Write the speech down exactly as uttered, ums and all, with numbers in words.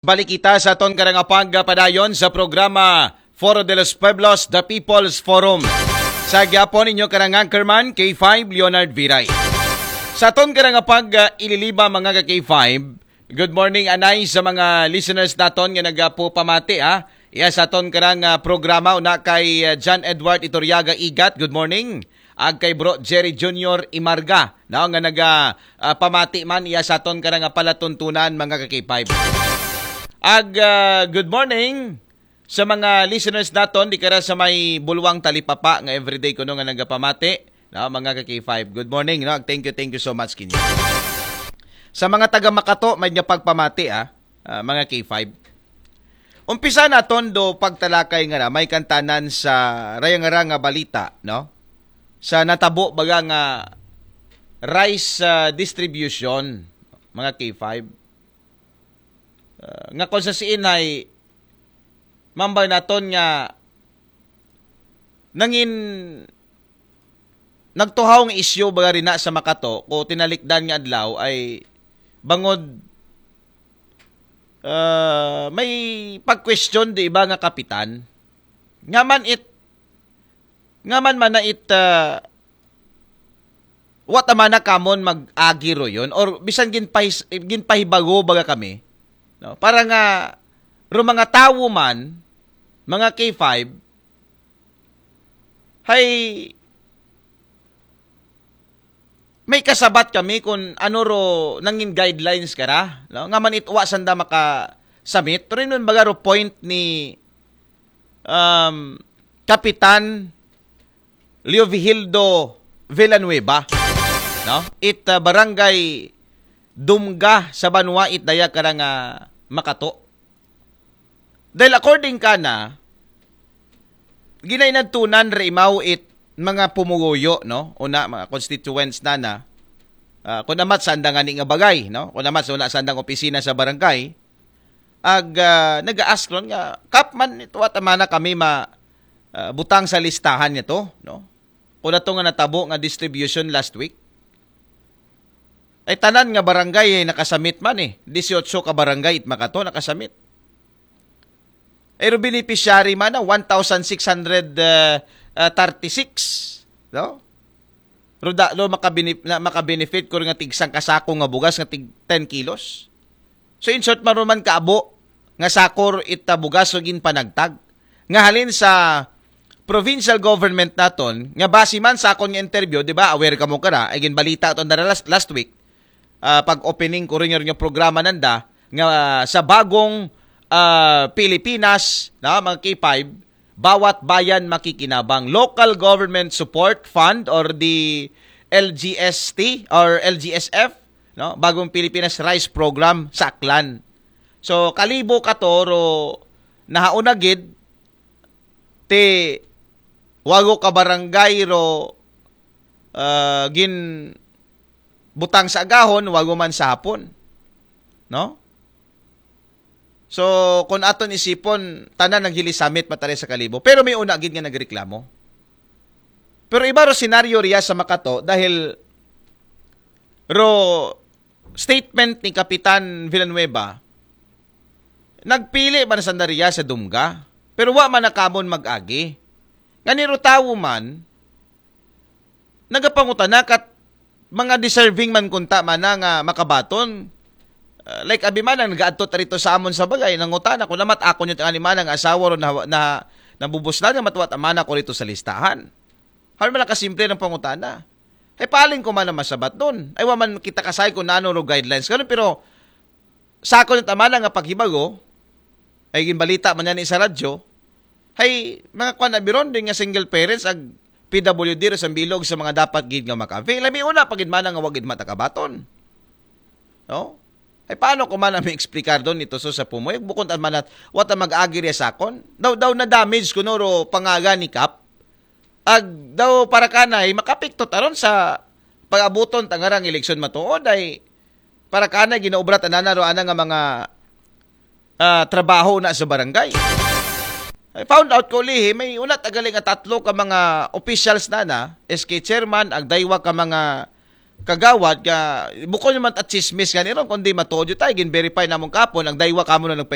Balik kita sa aton karang pagpadayon sa programa Foro de los Pueblos, The People's Forum. Sa gihapon, inyo karang anchorman, K five Leonard Viray. Sa aton karang pag, ah, ililiba, mga ka K five, good morning anay sa mga listeners naton nga nagapupamati, ha. Iya sa aton karang, ah, programa, una kay, ah, John Edward Iturriaga Igat, good morning. Ag kay Bro Jerry Junior Imarga, no, nga naga, ah, pamati man iya sa aton karang palatuntunan, mga ka K five. Ag, ah, good morning sa mga listeners naton di kara sa may Bulwang Talipapa nga everyday kuno nga nagapamati, no, mga ka K five. Good morning, no? Thank you, thank you so much kinyo. Sa mga taga Makato, may nga pagpamati, ah, ah, mga K five. Umpisa naton do pagtalakay nga na may kantanan sa rayang-rang nga balita, no? Sa natabo baga nga rice, ah, distribution, mga K five. Ah, nga kung sa siinay, mambay naton nga nangin nagtuhaw nga isyu baga rina sa Makato ko tinalikdan nga adlaw ay bangod, ah, may pag-question di iba nga kapitan. Nga man it, nga man man na it, ah, what amana kamon mag-agi ro yun? Or bisan ginpahis-, ginpahibago baga kami, no? Para nga ro mga tawo man, mga K five, hay may kasabat kami kung ano ro nangin guidelines kara, no? Nga man itwa sanda maka-submit. Pero yun baga ro point ni, um, Kapitan Leovigildo Villanueva, no? It, uh, barangay Dumga sa banwa it daya karang, uh, Makato. Dahil according kana, ginainadtunan ra imaw it mga pumuguyo, no? Una, mga constituents na na. Ah, kung amat sanda nga ni nga bagay, no? Kung amat sa una sandang opisina sa barangay, ag, ah, nag-ask ron nga, "Kap man ito at amana kami ma, ah, butang sa listahan niya to, no? Kung ato nga natabo nga distribution last week." Ay tanan nga barangay ay nakasamit man eh. Dieciocho ka barangay it Makato nakasamit. Ay ro beneficiary man na one thousand six hundred, uh, uh, thirty-six, no? Ro da, ro makabene-, na, makabenefit ko nga tig sangka sako nga bugas nga tig ten kilos. So in short, maruman kaabo nga sakor ita bugas so ginpanagtag. Nga halin sa provincial government naton, nga base man sa akon nga interview, di ba, aware kamo kara, ay ginbalita to na last, last week, ah, pag-opening ko rin yung programa nanda, nga, ah, sa bagong, ah, Pilipinas, na, mga K five, bawat bayan makikinabang. Local Government Support Fund or the L G S T or L G S F, no? Bagong Pilipinas Rice Program sa Aklan. So, kalibo ka to, ro, nahauna gid, ti wago ka barangay ro, ah, gin butang sa agahon, wago man sa hapon. No? So, kung aton isipon, tanan naghilisamit matari sa kalibo. Pero may una gid nga nagreklamo. Pero iba ro senaryo riya sa Makato dahil ro statement ni Kapitan Villanueva, nagpili man sanda riya sa Dumga, pero wa man nakamon mag-agi. Nga ni ro tawo man, nagapangutana kat mga deserving man kunta man na nga makabaton. Uh, like, abi man ang nagaadto tarito sa amon sa bagay, nangutana ko namat ako nyo tingali man ang asawa ro na, na, nabubuslan nga matwat amana ko rito sa listahan. Hal man lang kasimple ng pangutana. Ay paling ko man ang masabat doon. Ay wa man kita kasay kung nano ro guidelines. Ganun, pero sa ako ng tamana nga paghibago, ay ginbalita man yan sa radyo, ay mga kwan na biron din nga single parents ag P W D ro sa bilog sa mga dapat gid nga maka-avail. Ay may una pa gid man nga wagid matakabaton. No? Ay paano ko man ang may explicar doon nito so sa pumoy? Bukod ang manat, what ang mag-agi riya sa akon? Daw, daw na damage ko no ro pangaga ni Kap. Ag daw para kanay makapiktot aron sa pag-abuton tangarang eleksyon matuod ay para kanay ginaubra tanana ro ana nga mga, ah, trabaho na sa barangay. I found out ko lihi, may una tagali nga tatlo ka mga officials na na, S K chairman, ag daywa ka mga kagawad nga bukon naman ta chismis gani ron, kundi matuod tayo, gin-verify namon kapon, ang daywa kamo na nagpa